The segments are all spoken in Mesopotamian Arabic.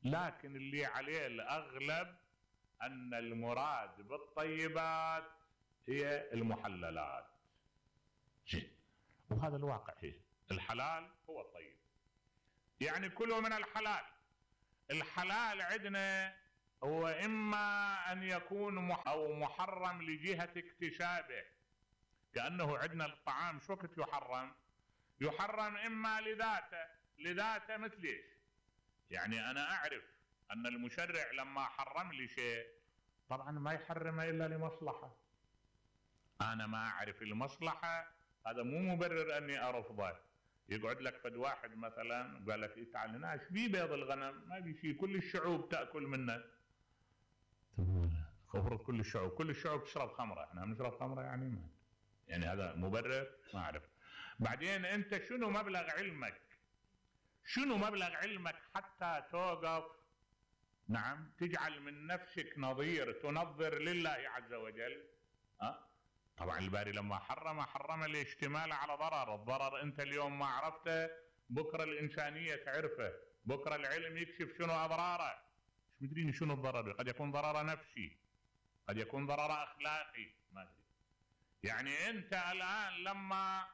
لكن اللي عليه الأغلب أن المراد بالطيبات هي المحللات. وهذا الواقع، هي الحلال هو الطيب، يعني كلوا من الحلال. الحلال عندنا هو إما أن يكون أو محرم لجهة اكتسابه، كأنه عندنا الطعام شو وقت يحرم إما لذاته مثل إيش؟ يعني أنا أعرف أن المشرع لما حرم لي شيء طبعا ما يحرمه إلا لمصلحة، أنا ما أعرف المصلحة، هذا مو مبرر أني أرفضه. يقعد لك فد واحد مثلا قال لك تعال هنا ايش بيه بيض الغنم؟ ما بي شيء، كل الشعوب تأكل منه. المفروض كل الشعوب تشرب خمرة، احنا بنشرب خمرة يعني هذا مبرر؟ ما أعرف. بعدين أنت شنو مبلغ علمك حتى توقف تجعل من نفسك نظير تنظر لله عز وجل؟ طبعا الباري لما حرم الاشتمال على ضرر. الضرر انت اليوم ما عرفته، بكره الانسانيه تعرفه، بكره العلم يكشف شنو اضراره. مش مدرين شنو الضرر، قد يكون ضرر نفسي، قد يكون ضرر اخلاقي، ما ادري. يعني انت الان لما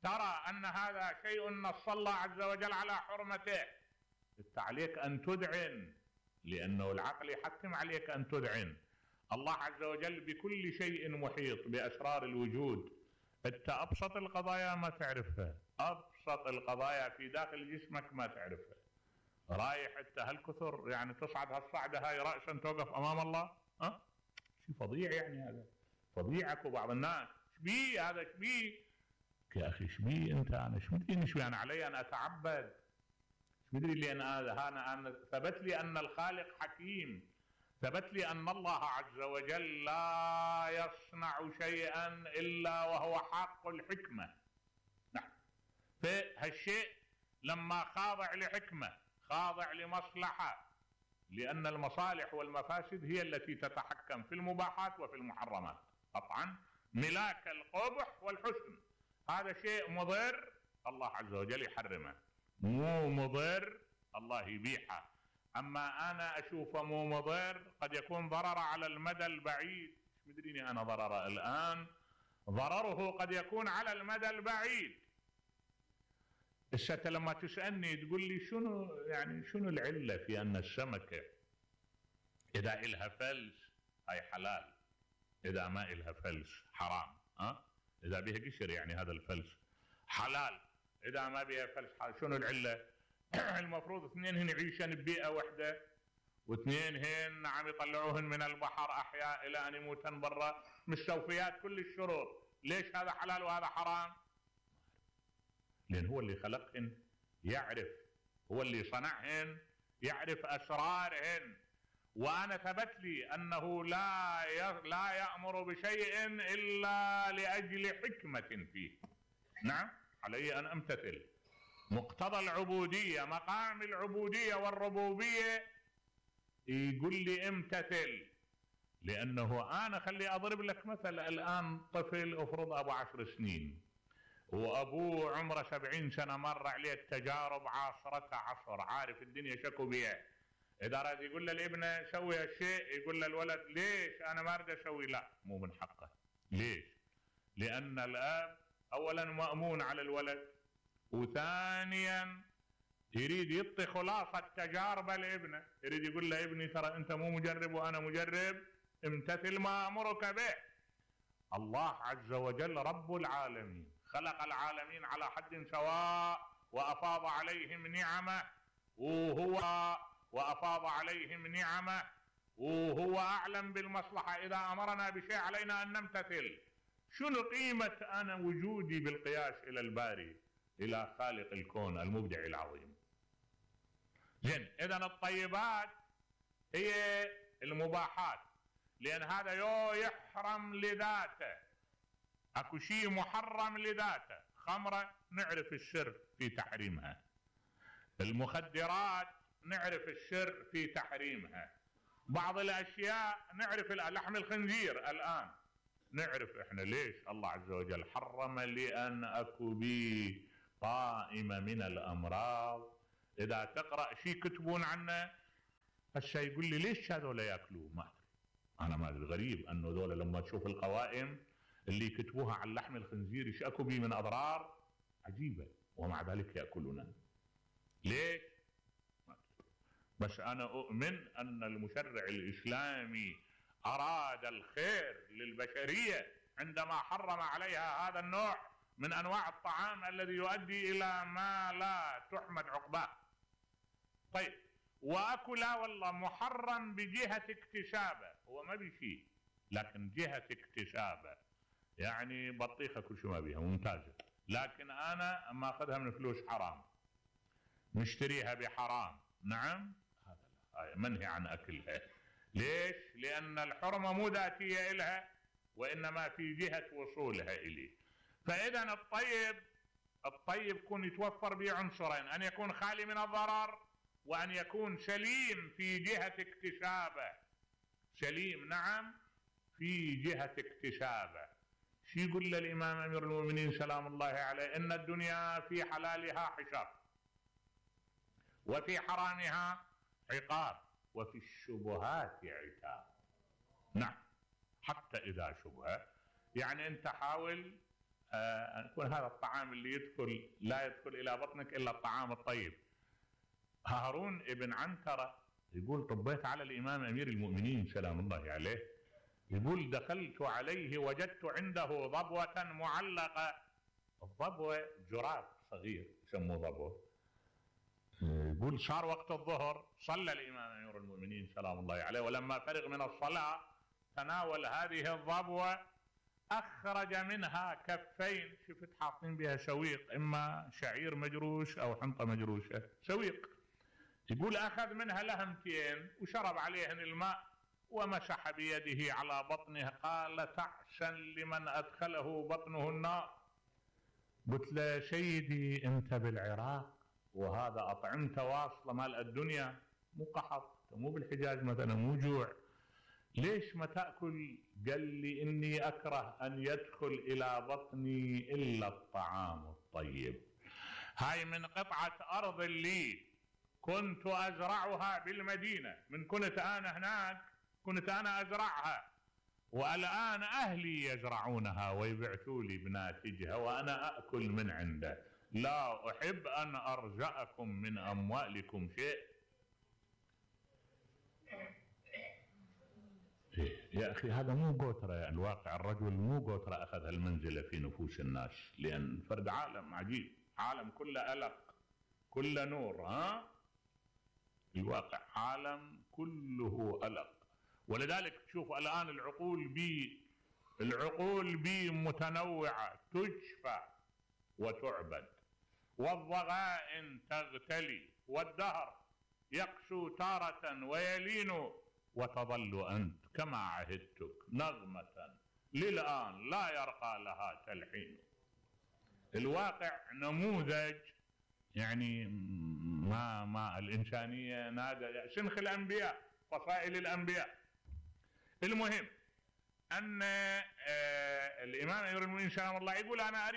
ترى ان هذا شيء نص الله عز وجل على حرمته، انت عليك ان تذعن، لانه العقل يحتم عليك ان تذعن. الله عز وجل بكل شيء محيط بأسرار الوجود. انت أبسط القضايا ما تعرفها، أبسط القضايا في داخل جسمك ما تعرفها. رايح انت هالكثر يعني تصعد هالصعدة هاي رأسا توقف أمام الله؟ شيء فظيع، يعني هذا فظيعك. وبعض الناس شبيه هذا شبيه يا أخي، شبيه أنت؟ أنا شمدري شبيه، أنا علي أن أتعبد، شمدري لي أنا ثبت لي أن الخالق حكيم، ثبت لي أن الله عز وجل لا يصنع شيئا إلا وهو حق الحكمة. نعم، فهالشيء لما خاضع لحكمة، خاضع لمصلحة، لأن المصالح والمفاسد هي التي تتحكم في المباحات وفي المحرمات. طبعا ملاك القبح والحسن، هذا شيء مضر الله عز وجل يحرمه، مو مضر الله يبيحه. أما أنا أشوفه مو مضر، قد يكون ضرر على المدى البعيد، مش مدريني أنا ضرر الآن، ضرره قد يكون على المدى البعيد. السنة لما تسألني تقول لي شنو العلة في أن السمكة إذا إلها فلس هاي حلال، إذا ما إلها فلس حرام؟ إذا بها قشر يعني هذا الفلس حلال، إذا ما بها فلس حرام. شنو العلة؟ المفروض اثنين هن يعيشن ببيئة واحدة، واثنين هن يطلعوهن من البحر أحياء إلى أن يموتن برا، مستوفيات كل الشروط. ليش هذا حلال وهذا حرام؟ لأن هو اللي خلقهن يعرف، هو اللي صنعهن يعرف أسرارهن. وأنا ثبت لي أنه لا يأمر بشيء إلا لأجل حكمة فيه. نعم، علي أن أمتثل. مقتضى العبودية، مقام العبودية والربوبية يقول لي امتثل. لأنه أنا خلي أضرب لك مثل، الآن طفل أفرض أبو 10 سنين وأبوه عمره 70 سنة، مر عليه التجارب عاصرة عصر، عارف الدنيا شكو بيها. إذا راد يقول للابن سوي هالشيء، يقول للولد ليش أنا ما أريد أسوي؟ لا، مو من حقه. ليش؟ لأن الأب أولا مأمون على الولد، وثانيا يريد يعطي خلاصة تجارب لابنه، يريد يقول له ابني ترى أنت مو مجرب وأنا مجرب، امتثل ما أمرك به. الله عز وجل رب العالمين، خلق العالمين على حد سواء، وأفاض عليهم نعمه، وهو أعلم بالمصلحة. إذا أمرنا بشيء علينا أن نمتثل. شنو قيمة أنا وجودي بالقياس إلى الباري، إلى خالق الكون المبدع العظيم؟ زين، إذن الطيبات هي المباحات، لأن هذا يحرم لذاته، أكو شيء محرم لذاته. خمرة نعرف السر في تحريمها، المخدرات نعرف السر في تحريمها، بعض الأشياء نعرف، لحم الخنزير الآن نعرف إحنا ليش الله عز وجل حرم، لأن أكو بي قائمة من الأمراض. إذا تقرأ شيء كتبون عنه هسه يقول لي ليش هذول ياكلوه؟ ما ادري، انا ما ادري. غريب انه ذولا لما تشوف القوائم اللي يكتبوها عن لحم الخنزير ايش اكو بيه من اضرار عجيبه، ومع ذلك ياكلونه. ليش؟ ما ادري. بس انا اؤمن ان المشرع الاسلامي اراد الخير للبشريه عندما حرم عليها هذا النوع من انواع الطعام الذي يؤدي الى ما لا تحمد عقباه. طيب، واكو لا والله محرم بجهه اكتسابه، هو ما بشيء لكن جهه اكتسابه، يعني بطيخه كل شيء ما بيها ممتازه، لكن انا اما اخذها من فلوس حرام نشتريها بحرام، نعم هذا منهي عن اكلها. ليش؟ لان الحرمه مو ذاتيه الها وانما في جهه وصولها اليه. فاذا الطيب يكون يتوفر به عنصرين، ان يكون خالي من الضرر وان يكون سليم في جهه اكتسابه. سليم نعم في جهه اكتسابه. شو يقول الامام امير المؤمنين سلام الله عليه؟ ان الدنيا في حلالها حساب وفي حرامها عقاب وفي الشبهات عتاب. نعم، حتى اذا شبهه، يعني انت حاول ان يكون هذا الطعام اللي يدخل لا يدخل الى بطنك الا الطعام الطيب. هارون ابن عنترة يقول طبيت على الامام امير المؤمنين سلام الله عليه، يقول دخلت عليه وجدت عنده ضبوة معلقة. الضبوة جراب صغير يسموه ضبوة. يقول صار وقت الظهر، صلى الامام امير المؤمنين سلام الله عليه، ولما فرغ من الصلاة تناول هذه الضبوة، اخرج منها كفين، شفت حاطين بها سويق، اما شعير مجروش او حنطة مجروشة، سويق. يقول اخذ منها لهمتين وشرب عليهن الماء ومسح بيده على بطنه، قال تعسا لمن ادخله بطنه النار. قلت له سيدي انت بالعراق وهذا اطعمته واصله مال الدنيا، مو قحط، مو بالحجاز مثلا، مو جوع، ليش ما تاكل؟ قال لي اني اكره ان يدخل الى بطني الا الطعام الطيب. هاي من قطعه ارض لي كنت ازرعها بالمدينه، من كنت انا هناك كنت انا ازرعها، والان اهلي يزرعونها ويبعثوا لي بناتجها وانا اكل من عنده. لا احب ان ارزقكم من اموالكم شيء. يا اخي هذا مو قوتره، الواقع الرجل مو قوتره اخذ هالمنزله في نفوس الناس، لان فرد عالم عجيب، عالم كله الق كله نور. الواقع عالم كله الق. ولذلك تشوف الان العقول بي متنوعه، تجفى وتعبد، والضغائن تغتلي، والدهر يقسو تارة ويلين، وتظل أنت كما عهدتك نغمة للآن لا يرقى لها تلحين. الواقع نموذج، يعني ما الإنسانية نادى شنخ الأنبياء، فصائل الأنبياء. المهم أن الإمام أمير المؤمنين سلام الله يقول أنا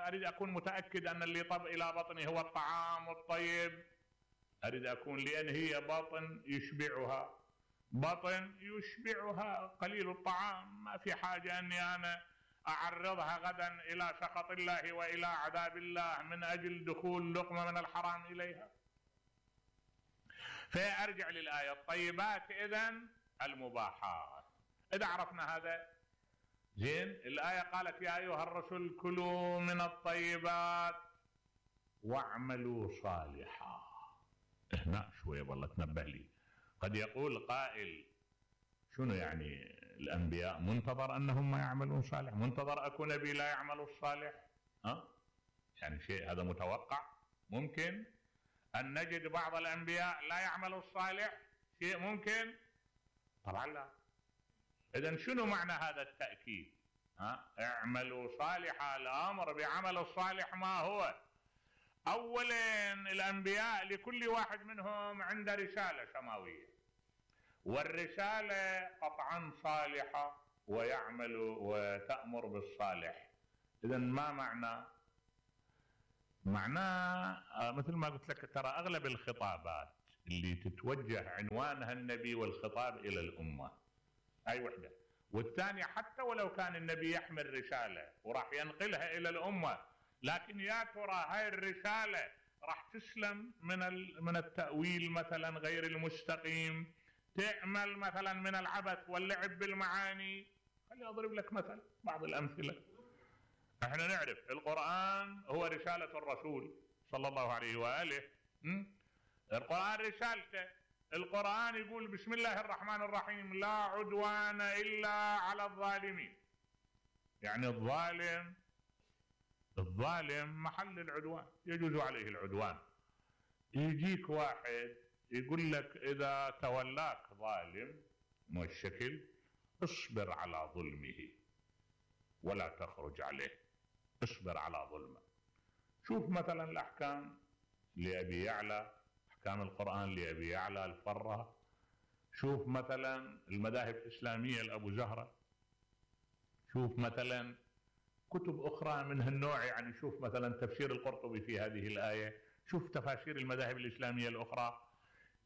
أريد أكون متأكد أن اللي طب إلى بطني هو الطعام الطيب، أريد أكون، لأن هي بطن يشبعها قليل الطعام، ما في حاجة أني أنا أعرضها غدا إلى سخط الله وإلى عذاب الله من أجل دخول لقمة من الحرام إليها. فأرجع للآية، الطيبات إذن المباحات. إذا عرفنا هذا زين، الآية قالت يا أيها الرسل كلوا من الطيبات واعملوا صالحا. هنا شوية والله تنبه لي، قد يقول قائل شنو يعني الأنبياء منتظر أنهم ما يعملون صالح؟ منتظر أكو نبي لا يعمل الصالح؟ يعني شيء هذا متوقع؟ ممكن أن نجد بعض الأنبياء لا يعمل الصالح؟ شيء ممكن؟ طبعا لا. إذن شنو معنى هذا التأكيد؟ اعملوا صالحا، الأمر بعمل الصالح ما هو؟ أولا الأنبياء لكل واحد منهم عنده رسالة سماوية، والرسالة قطعا صالحة ويعمل وتأمر بالصالح. إذن ما معناه مثل ما قلت لك، ترى أغلب الخطابات اللي تتوجه عنوانها النبي والخطاب إلى الأمة. هاي وحدة. والثانية حتى ولو كان النبي يحمل رسالة وراح ينقلها إلى الأمة، لكن يا ترى هاي الرسالة راح تسلم من التأويل مثلا غير المستقيم، تعمل مثلا من العبث واللعب بالمعاني. خليني أضرب لك مثلا بعض الأمثلة. احنا نعرف القرآن هو رسالة الرسول صلى الله عليه وآله. القرآن رسالته. القرآن يقول بسم الله الرحمن الرحيم لا عدوان إلا على الظالمين. يعني الظالم محل العدوان، يجوز عليه العدوان. يجيك واحد يقول لك إذا تولاك ظالم والشكل اصبر على ظلمه ولا تخرج عليه، اصبر على ظلمه. شوف مثلا الأحكام لأبي يعلى، أحكام القرآن لأبي يعلى الفرة. شوف مثلا المذاهب الإسلامية لأبو زهرة. شوف مثلا كتب أخرى من هالنوع، يعني شوف مثلا تفسير القرطبي في هذه الآية، شوف تفاسير المذاهب الإسلامية الأخرى.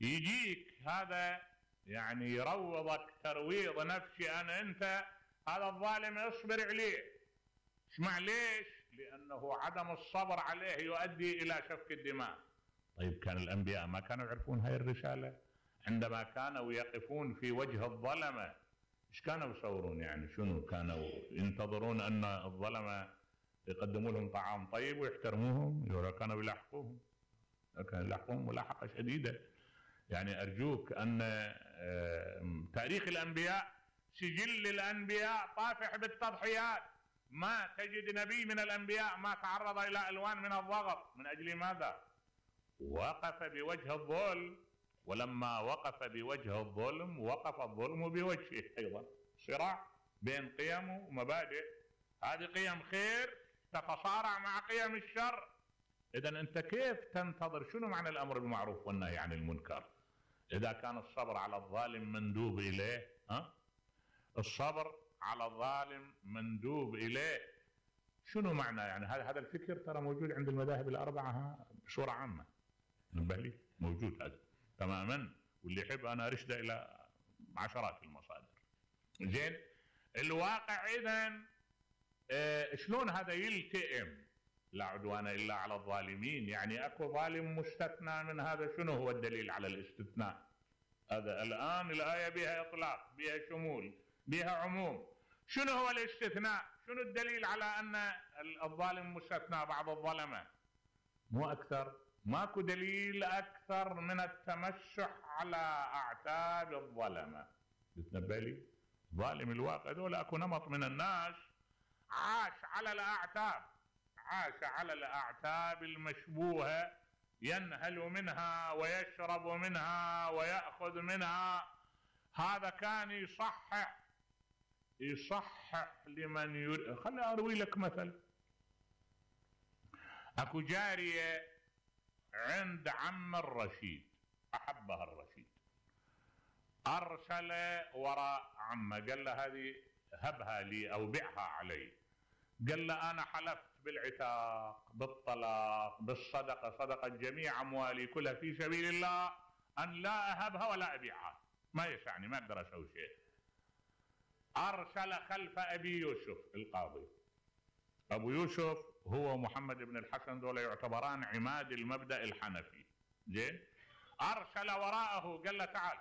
يجيك هذا يعني يروضك ترويض نفسي أن أنت هذا الظالم اصبر عليه. اسمع ليش؟ لأنه عدم الصبر عليه يؤدي إلى سفك الدماء. طيب كان الأنبياء ما كانوا يعرفون هاي الرسالة؟ عندما كانوا يقفون في وجه الظلمة ايش كانوا يصورون؟ يعني شنو كانوا ينتظرون أن الظلمة يقدموا لهم طعام طيب ويحترموهم؟ كانوا يلاحقوهم، كانوا يلاحقوهم ملاحقة شديدة. يعني أرجوك أن تاريخ الأنبياء سجل الأنبياء طافح بالتضحيات. ما تجد نبي من الأنبياء ما تعرض إلى ألوان من الضغط. من أجل ماذا؟ وقف بوجه الظلم، ولما وقف بوجه الظلم وقف الظلم بوجهه أيضا. صراع بين قيم ومبادئ، هذه قيم خير تتصارع مع قيم الشر. إذن أنت كيف تنتظر؟ شنو معنى الأمر بالمعروف والنهي عن المنكر إذا كان الصبر على الظالم مندوب إليه؟ الصبر على الظالم مندوب إليه. شنو معنى؟ يعني هذا الفكر ترى موجود عند المذاهب الأربعة بصورة عامة. نبه لي موجود هذا تماما، واللي يحب أنا أرشده إلى عشرات المصادر. زين الواقع إذن شلون هذا يلتئم؟ لا عدوان إلا على الظالمين، يعني أكو ظالم مستثنى من هذا. شنو هو الدليل على الاستثناء؟ هذا الآن الآية بها إطلاق، بها شمول، بها عموم. شنو هو الاستثناء؟ شنو الدليل على أن الظالم مستثنى بعض الظلمة؟ مو أكثر، ماكو دليل أكثر من التمسح على أعتاب الظلمة. تتنبه لي؟ ظالم الواقع دول أكو نمط من الناس عاش على الأعتاب، عاش على الأعتاب المشبوهة، ينهل منها ويشرب منها ويأخذ منها. هذا كان يصحح لمن يريد. خليني أروي لك مثل. أكو جارية عند عم الرشيد، أحبها الرشيد، أرسل وراء عمه قال له هذه هبها لي أو بيعها علي. قال له أنا حلفت بالعتاق، بالطلاق، بالصدقة، صدقة جميع أموالي كلها في سبيل الله، أن لا أهبها ولا أبيعها، ما يسعني، ما أقدر أسوي شيء. أرسل خلف أبي يوسف القاضي. أبو يوسف هو محمد بن الحسن، دول يعتبران عماد المبدأ الحنفي. زين أرسل وراءه قال له تعال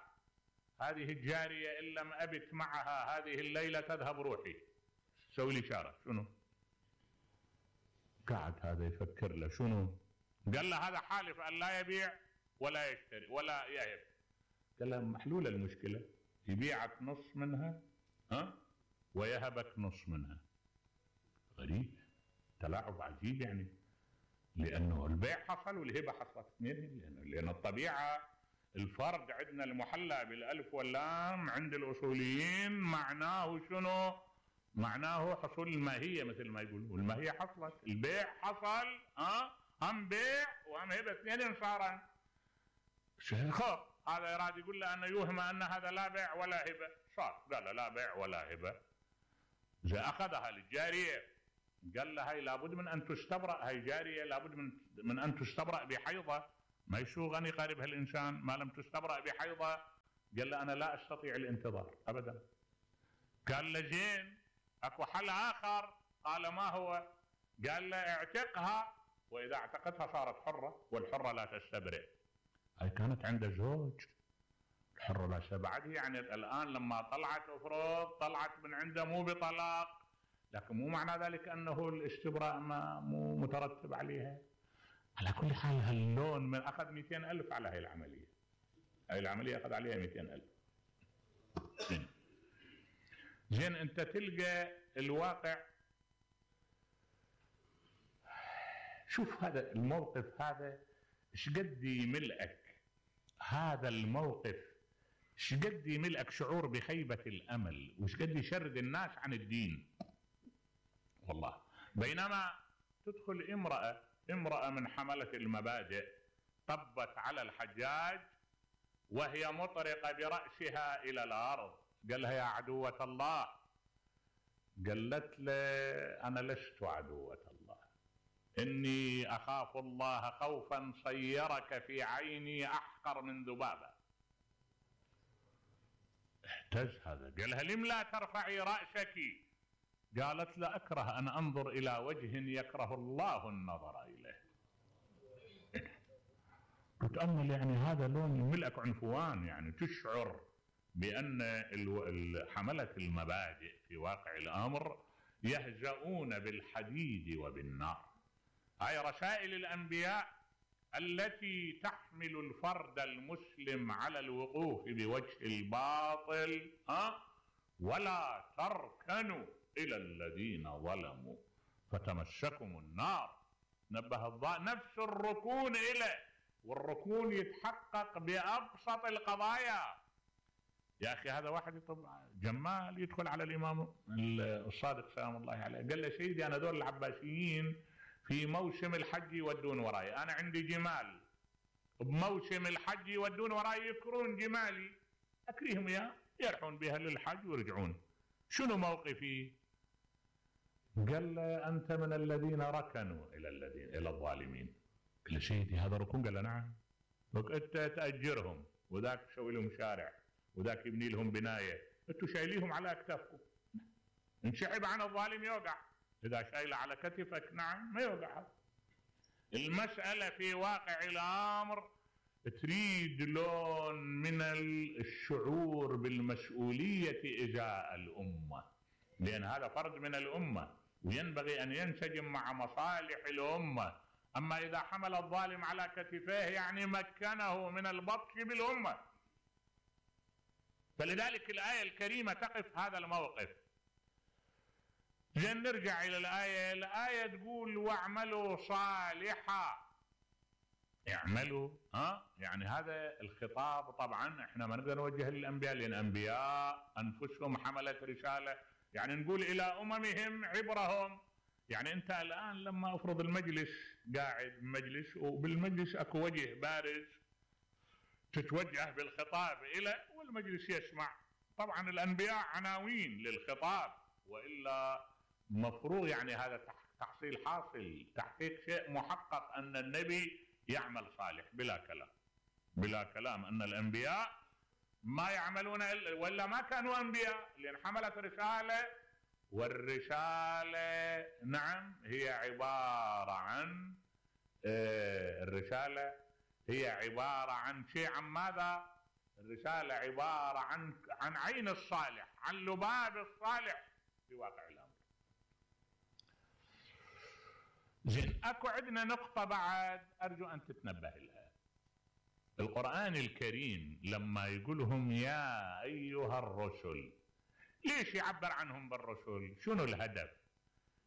هذه الجارية إن لم أبت معها هذه الليلة تذهب روحي، سوي لي إشارة. شنو؟ قاعد هذا يفكر له شنو؟ قال له هذا حالف أن لا يبيع ولا يشتري ولا يهب. قال له محلولة المشكلة، يبيعك نص منها ويهبك نص منها. غريب، تلاعب عجيب يعني، لأنه البيع حصل والهبة حصلت اثنين. لأن الطبيعة الفرد عندنا المحلى بالألف واللام عند الأصوليين معناه شنو؟ معناه حصول الماهية، مثل ما يقولون، والماهية حصلت، البيع حصل، هم بيع وهم هبة اثنين صارا. خب هذا يراد يقول له أنه يوهم أن هذا لا بيع ولا هبة، صار قال لا بيع ولا هبة. إذا أخذها للجارية قال له هاي لابد من أن تستبرأ، هاي جارية لابد من أن تستبرأ بحيضة، ما شو غني قارب هالإنسان ما لم تستبرأ بحيضة؟ قال له أنا لا أستطيع الانتظار أبدا. قال له زين أكو حل آخر. قال ما هو؟ قال له اعتقها، وإذا اعتقتها صارت حرة، والحرة لا تستبرئ. هاي كانت عنده زوج، الحرة لا تستبرئ. يعني الآن لما طلعت أفرض طلعت من عنده مو بطلاق، لكن مو معنى ذلك أنه الاستبراء مو مترتب عليها. على كل حال هاللون من أخذ 200,000 على هاي العملية. هاي العملية أخذ عليها 200,000. زين أنت تلقى الواقع. شوف هذا الموقف هذا ايش قد يملئك، هذا الموقف ايش قد يملئك شعور بخيبة الأمل، وايش قد يشرد الناس عن الدين والله. بينما تدخل امرأة من حملة المبادئ طبت على الحجاج وهي مطرقة برأسها إلى الأرض، قال لها يا عدوة الله. قالت له أنا لست عدوة الله، إني أخاف الله خوفا صيرك في عيني أحقر من ذبابة. اهتز هذا، قال لها لم لا ترفعي رأسك؟ قالت لا أكره أن أنظر إلى وجه يكره الله النظر إليه. تتأمل يعني هذا لون يملأك عنفوان، يعني تشعر بأن حملة المبادئ في واقع الأمر يهزؤون بالحديد وبالنار. هاي رسائل الأنبياء التي تحمل الفرد المسلم على الوقوف بوجه الباطل، ولا تركنوا إلى الذين ظلموا فتمسكم النار. نبه نفس الركون إليه، والركون يتحقق بأبسط القضايا. يا أخي هذا واحد جمال يدخل على الإمام الصادق سلام الله عليه، قال له سيدي أنا دول العباسيين في موسم الحج يودون وراي، أنا عندي جمال بموسم الحج يودون وراي يكرون جمالي، أكريهم يا يرحون بها للحج ويرجعون، شنو موقفي؟ قال له أنت من الذين ركنوا إلى الظالمين. قال له سيدي هذا ركون؟ قال له نعم. أنت تأجرهم وذاك تسوي لهم شارع وذاك يبني لهم بناية، أنتوا شايليهم على أكتافكم. انشعب عن الظالم يوقع، إذا شايله على كتفك نعم ما يوقع. المسألة في واقع الأمر تريد لون من الشعور بالمسؤولية إزاء الأمة، لأن هذا فرد من الأمة وينبغي أن ينسجم مع مصالح الأمة. أما إذا حمل الظالم على كتفيه يعني مكنه من البطش بالأمة. فلذلك الآية الكريمة تقف هذا الموقف. زين نرجع إلى الآية تقول واعملوا صالحا. اعملوا، يعني هذا الخطاب طبعا احنا ما نقدر نوجه للأنبياء، لأن الأنبياء أنفسهم حملت رسالة، يعني نقول إلى أممهم عبرهم. يعني أنت الآن لما أفرض المجلس قاعد مجلس وبالمجلس أكو وجه بارز تتوجه بالخطاب إلى والمجلس يسمع، طبعا الأنبياء عناوين للخطاب، وإلا مفروض يعني هذا تحصيل حاصل تحقيق شيء محقق أن النبي يعمل صالح بلا كلام أن الأنبياء ما يعملون ولا ما كانوا أنبياء، لأن حملت رسالة، والرسالة نعم هي عبارة عن الرسالة هي عبارة عن شيء، عن ماذا؟ الرسالة عبارة عن عين الصالح، عن لباب الصالح في واقع الأمر. زين اكو عندنا نقطة بعد أرجو أن تتنبه لها. القرآن الكريم لما يقولهم يا أيها الرسل، ليش يعبر عنهم بالرسل؟ شنو الهدف؟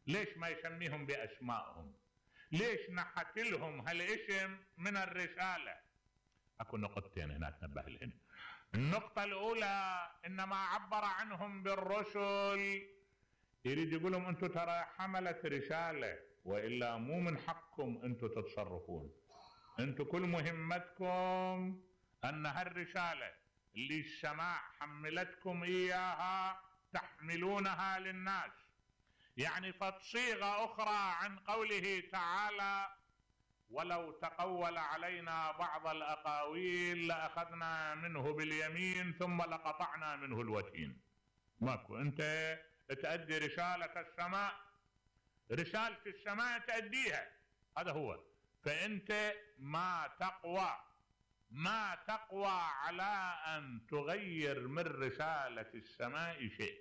ليش ما يسميهم بأسمائهم؟ ليش نحت لهم هالاسم من الرسالة؟ اكو نقطتين هنا تنبه لهن. النقطة الأولى إنما عبر عنهم بالرسل يريد يقول لهم أنتم ترى حملت رسالة، وإلا مو من حقكم أنتم تتصرفون، أنتم كل مهمتكم أن هالرسالة اللي السماء حملتكم إياها تحملونها للناس. يعني فصيغة أخرى عن قوله تعالى ولو تقول علينا بعض الأقاويل لأخذنا منه باليمين ثم لقطعنا منه الوتين. ماكو. أنت تأدي رسالة السماء، رسالة السماء تأديها، هذا هو. فأنت ما تقوى على أن تغير من رسالة السماء شيء.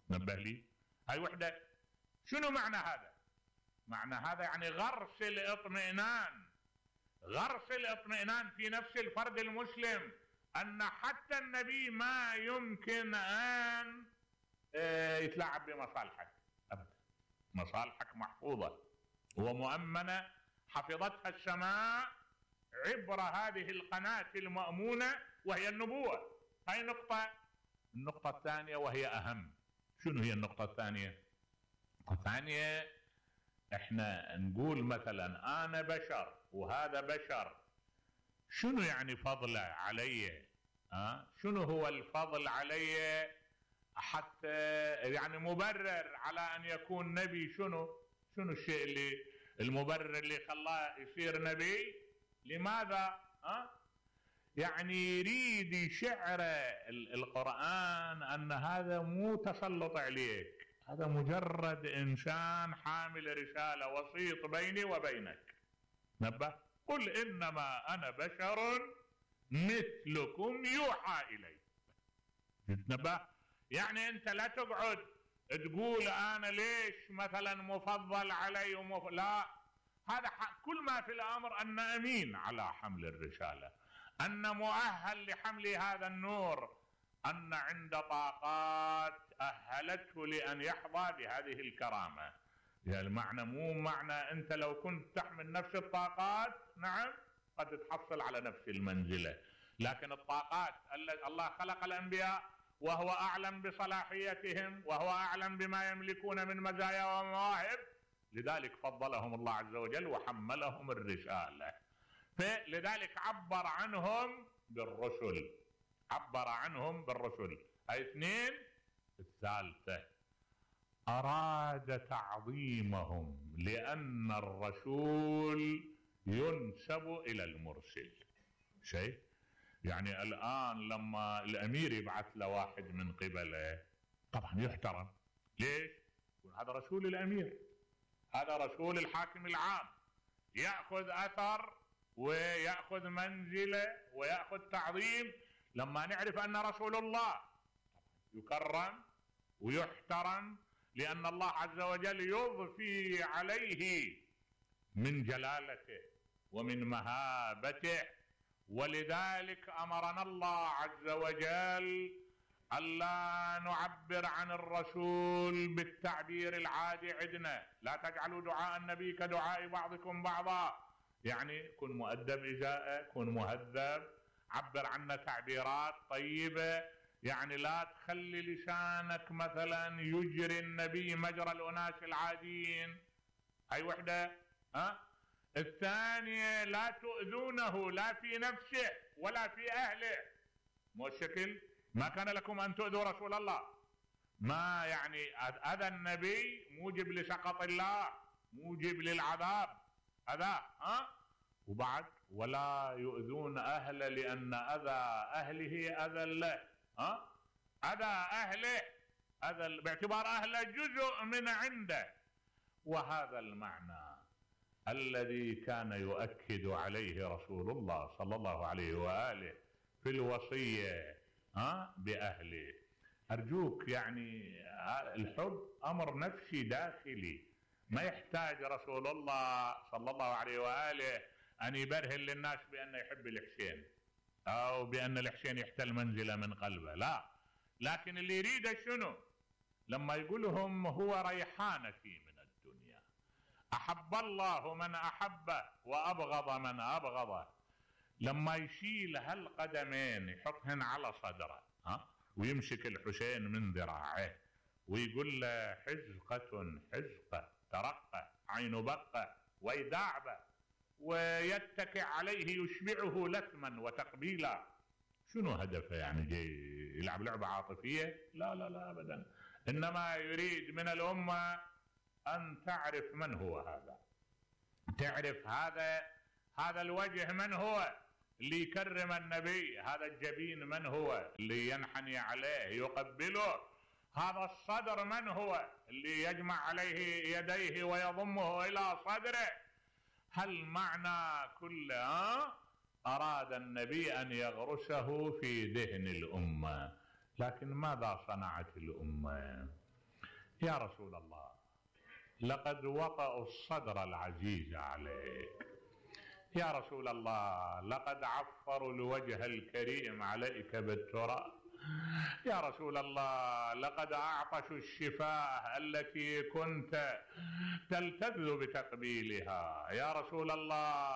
نبه لي هاي وحدة. شنو معنى هذا؟ معنى هذا يعني غرس الاطمئنان، غرس الاطمئنان في نفس الفرد المسلم، أن حتى النبي ما يمكن أن يتلاعب بمصالحك أبدا. مصالحك محفوظة ومؤمنة، حفظتها السماء عبر هذه القناة المأمونة وهي النبوة. هاي نقطة. النقطة الثانية وهي أهم. شنو هي النقطة الثانية؟ النقطة الثانية احنا نقول مثلا أنا بشر وهذا بشر، شنو يعني فضله علي؟ شنو هو الفضل علي حتى يعني مبرر على أن يكون نبي؟ شنو الشيء اللي المبرر اللي خلاه يصير نبي؟ لماذا؟ يعني يريد يشعر القرآن أن هذا مو تسلط عليك، هذا مجرد إنسان حامل رسالة، وسيط بيني وبينك. نبه. قل إنما أنا بشر مثلكم يوحى إلي. نبه. يعني أنت لا تقعد تقول أنا ليش مثلا مفضل علي لا، هذا كل ما في الأمر أن أمين على حمل الرسالة، أن مؤهل لحمل هذا النور، أن عند طاقات أهلته لأن يحظى بهذه الكرامة. يعني المعنى مو معنى أنت لو كنت تحمل نفس الطاقات نعم قد تحصل على نفس المنزلة، لكن الطاقات الله خلق الأنبياء وهو أعلم بصلاحيتهم وهو أعلم بما يملكون من مزايا ومواهب، لذلك فضلهم الله عز وجل وحملهم الرسالة. فلذلك عبر عنهم بالرسل، عبر عنهم بالرسل. هاي اثنين. الثالثة أراد تعظيمهم لأن الرسول ينسب إلى المرسل. شيء يعني الآن لما الأمير يبعث له واحد من قبله طبعا يحترم. ليش؟ هذا رسول الأمير، هذا رسول الحاكم العام، يأخذ أثر ويأخذ منزلة ويأخذ تعظيم. لما نعرف أن رسول الله يكرم ويحترم لأن الله عز وجل يضفي عليه من جلالته ومن مهابته، ولذلك أمرنا الله عز وجل ألا نعبر عن الرسول بالتعبير العادي عندنا. لا تجعلوا دعاء النبي كدعاء بعضكم بعضا، يعني كن مؤدب إزاءه، كن مهذب، عبر عنا تعبيرات طيبة، يعني لا تخلي لسانك مثلا يجري النبي مجرى الأناس العاديين. هاي وحدة. الثانية لا تؤذونه لا في نفسه ولا في أهله. مو الشكل ما كان لكم أن تؤذوا رسول الله، ما يعني أذى النبي موجب لسخط الله، موجب للعذاب هذا. وبعد ولا يؤذون أهله لأن أذى أهله أذى له. أذى أهله أذى باعتبار أهله جزء من عنده. وهذا المعنى الذي كان يؤكد عليه رسول الله صلى الله عليه وآله في الوصية بأهله. أرجوك يعني الحب أمر نفسي داخلي، ما يحتاج رسول الله صلى الله عليه وآله أن يبرهن للناس بأنه يحب الحسين أو بأن الحسين يحتل منزلة من قلبه، لا. لكن اللي يريده شنو؟ لما يقولهم هو ريحانتي من الدنيا، أحب الله من أحبه وأبغض من أبغضه. لما يشيل هالقدمين يحطهن على صدره ويمسك الحسين من ذراعه ويقول له حزقة حزقة ترقة عين بقة ويداعبه ويتكئ عليه يشبعه لثما وتقبيلا. شنو هدفه؟ يعني جاي يلعب لعبة عاطفية؟ لا لا لا أبدا، إنما يريد من الأمة أن تعرف من هو هذا، تعرف هذا الوجه من هو اللي يكرم النبي، هذا الجبين من هو اللي ينحني عليه يقبله، هذا الصدر من هو اللي يجمع عليه يديه ويضمه إلى صدره. هل معنى كل أراد النبي أن يغرسه في ذهن الأمة، لكن ماذا صنعت الأمة؟ يا رسول الله لقد وطأوا الصدر العزيز عليك، يا رسول الله لقد عفروا الوجه الكريم عليك بالتراب، يا رسول الله لقد أعطشوا الشفاه التي كنت تلتذ بتقبيلها، يا رسول الله